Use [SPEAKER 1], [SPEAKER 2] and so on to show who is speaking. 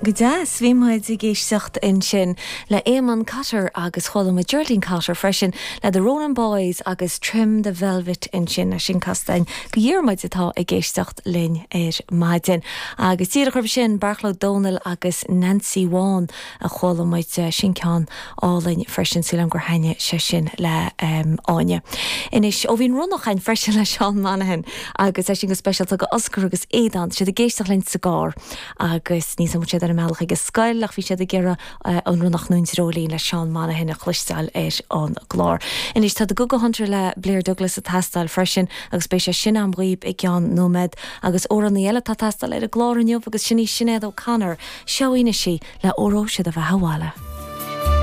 [SPEAKER 1] Go deas, bhí muid ag éisteacht ansin le Éamonn Cotter agus chuala muid Geraldine Cotter freisin le The Ronan Boys agus Trim the Velvet ansin, é sin casta againn do Dhiarmuid atá ag éisteacht linn ar maidin. Agus díreach roimhe sin, Beartla Ó Domhnaill agus Nancy Bhán a chuala muid, sin ceann álainn freisin, súil agam gur thaitnigh sé sin le Áine. Anois, ó bhí an ronnach againn freisin le Seán Monaghan agus é sin go speisialta do Oscar agus Aodán, tá siad ag éisteacht linn sa gcarr. agus níl 's agam an bhfuil siad ar a mbealach ag an scoil ach bhí siad ag iarraidh an Ronnach nó an Dreoilín le Seán Monaghan a chloisteáil ar an gclár. Anois tá The Go Go Hunter le Blair Douglas ag teastáil freisin agus beidh sé sin a'm dhaoib i gceann nóiméad agus amhránaí eile atá ag teastáil ar an gclár inniu agus sin í Sinéad O'Connor. Seo í anois í le Óró Sé do Bheatha 'Bhaile.